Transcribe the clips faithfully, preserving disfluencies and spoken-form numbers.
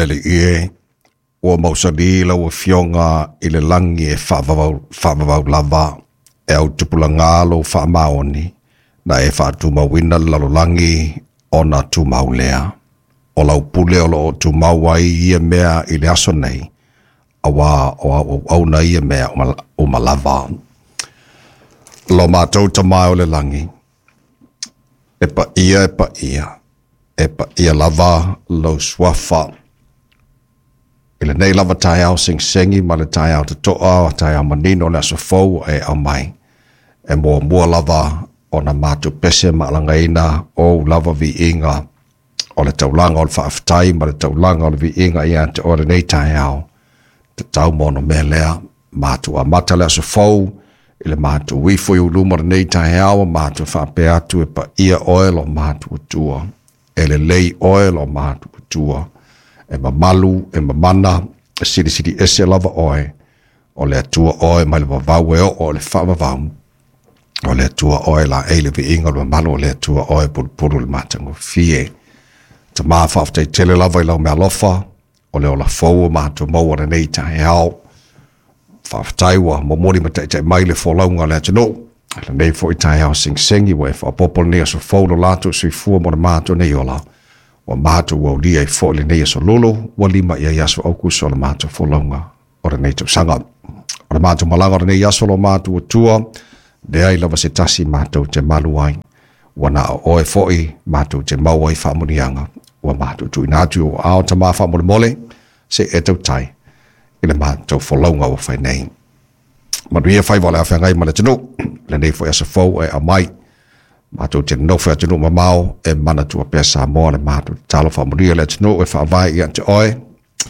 Le Alii e, ua mausali lau afioga i le lagi e faavavau, faavavau lava e autupulaga lou faamaoni na e faatumauina le lalolagi ona tumau lea. O lau pule o loo tumau ai ia mea i le aso nei, auā o au auauna ia mea uma lava. Lo matou Tamā o le lagi, e paia e paia, e paia lava lou suafa. I lenei lava taeao segisegi ma le taeao totoa, taeao manino o le aso fou e aumai. E muamua lava ona matou pese ma alagaina ou lava viiga o le taulaga o le faafetai ma le taulaga o le viiga ia te oe lenei taeao. Tatau ma ono mea lea, matou amata le aso fou, i le matou ifo i uluma lenei taeao, matou faapea atu e paia oe lo matou Atua. E lelei oe lo matou Atua. E mamalu, e mamana, e silisili ese lava oe. O le Atua oe mai le vavau e oo o le faavavau. O le Atua oe la e le viiga o le mamalu, o le Atua oe pulupulu le matagofie. Tamā faafetai tele lava i lau mealofa, o le ola fou o matou maua lenei taeao. Faafetai ua momoli ma taitai mai le folauga o le atunuu. Lenei foi taeao segisegi ua e faaopoopo lenei aso fou lo latou soifua mo le matou nei ola. Ua matou aulia ai foi lenei aso lolo, ua lima i ai aso Aukuso o le matou folauga o lenei tausaga. O le matou malaga o lenei aso lo matou Atua, leai lava se tasi matou te malu ai. Ua na o oe foi matou te maua ai faamuniaga. Ua matou tuuina atu i ou aao Tamā faamolemole, se e tautai i le matou folauga ua fai nei. Manuia faiva o le afeagai ma le atunuu, lenei foi aso fou e aumai. Matou te nonofo i atunuu mamao e manatua pea Samoa le matou tatalo faamanuia le atunuu e faavae ia te oe,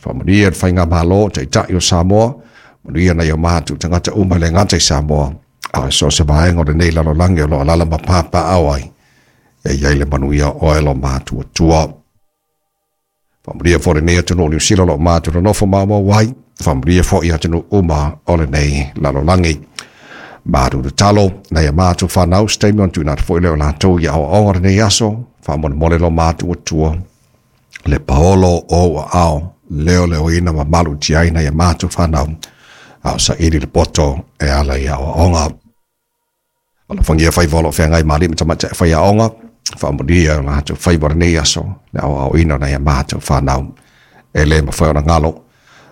faamanuia le faigamalo taitai o Samoa, manuia nai o matou tagata uma e le gata i Samoa, a o so o se vaega o lenei lalolagi o lo o alaala ma papaaao ai, e i ai le manuia o oe lo matou Atua. Faamanuia foi lenei atunuu o Niu Sila o lo o matou nonofo maumau ai, faamanuia foi atunuu uma o lenei lalolagi. Matou tatalo nai a matou fanau se taimi ona tuuina atu foi lea o latou i aoaoga lenei aso, faamolemole lo matou Atua, le paolo o ou aao, leoleoina ma malutia ai nai a matou fanau, a o saili le poto e ala i aoaoga. Alofagia faiva o lo o feagai ma alii ma tamaitai faiaoga, faamanuia o latou faiva lenei aso, le aoaoina o nai a matou fanau. E le mafai ona galo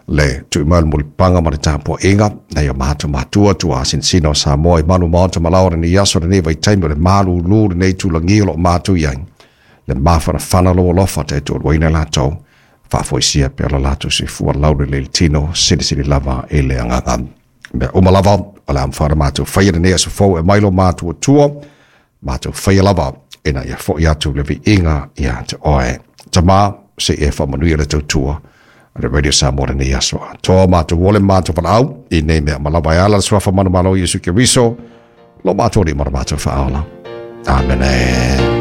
le tui mai o le mulipapaga ma le tapuaiga nai o matou matua tuasinsina o Samoa i malu maota ma laoa lenei aso lenei vaitaimi o le malulu lenei tulagi o lo o matou i ai. Le mafanafana lou alofa taitoaluaina latou, faafoisia pea lo latou soifua laulelei le tino, silisili lava i le agaga. Mea uma lava o le a mafai ona matou faia lenei aso fou e mai lo matou Atua, matou faia lava ina ia foi atu le viiga ia te oe. Tamā, se i e faamanuia le tautua a le Radio Samoa lenei aso atoa. Matou ole matou valaau i nei mea ma lava e ala le suafa manumalo o Iesu Keriso, lo matou Alii ma lo matou Faaola. Amene.